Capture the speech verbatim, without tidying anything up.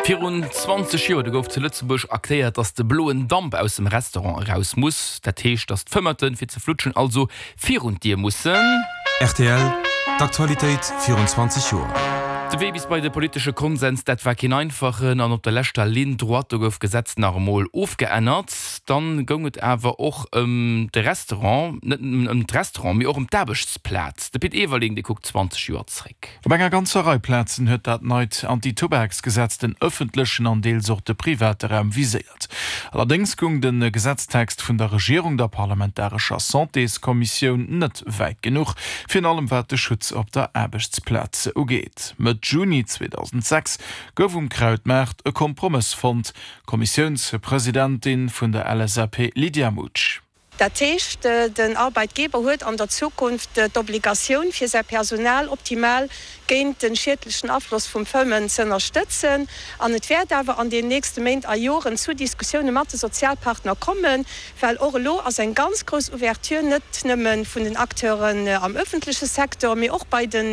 Virun zwanzeg Joer, do gouf zu Lëtzebuerg erkläert, dass de bloen Damp aus dem Restaurant eraus muss. Dat heescht, dass d'Fëmmerten, fir ze flutschen, also virun d'Dier mussen. Rtl, D'Aktualitéit virun zwanzeg Joer. De Wee bis bei de politesche Konsens, dat war keen einfachen an op der leschter Ligne droite, do gouf d'Gesetz nach emol ofgeännert. Dann goung et awer och ëm de Restaurant, net nëmmen ëm d'Restaurant, mee och ëm d'Aarbechtsplaz. De Pit Everling, dee kuckt zwanzeg Joer zréck. Op enger ganzer Rei Plazen huet dat neit Anti-Tubaksgesetz den ëffentlechen an deels och de private Raum viséiert. Allerdéngs goung de Gesetztext vun der Regierung der parlamentarescher Santéskommissioun net wäit genuch, virun allem wat de Schutz op der Aarbechtsplaz ugeet. Mëtt Juni zweedausendsechs gouf um Krautmaart e Kompromëss fonnt. Kommissiounspresidentin vun der L S A P Lydia Mutsch. Dat heescht, den Arbeitgeber huet an der Zukunft d'Obligatioun, fir säi Personal optimal géint de schiedlechen Afloss vum Fëmmen ze ënnerstëtzen. An et wäert awer an den nächste Méint a Joren zu Diskussioune mat de Sozialpartner kommen, well och elo ass eng ganz grouss Ouverture net nëmme vun den Acteuren am ëffentleche Secteur, mee och bei de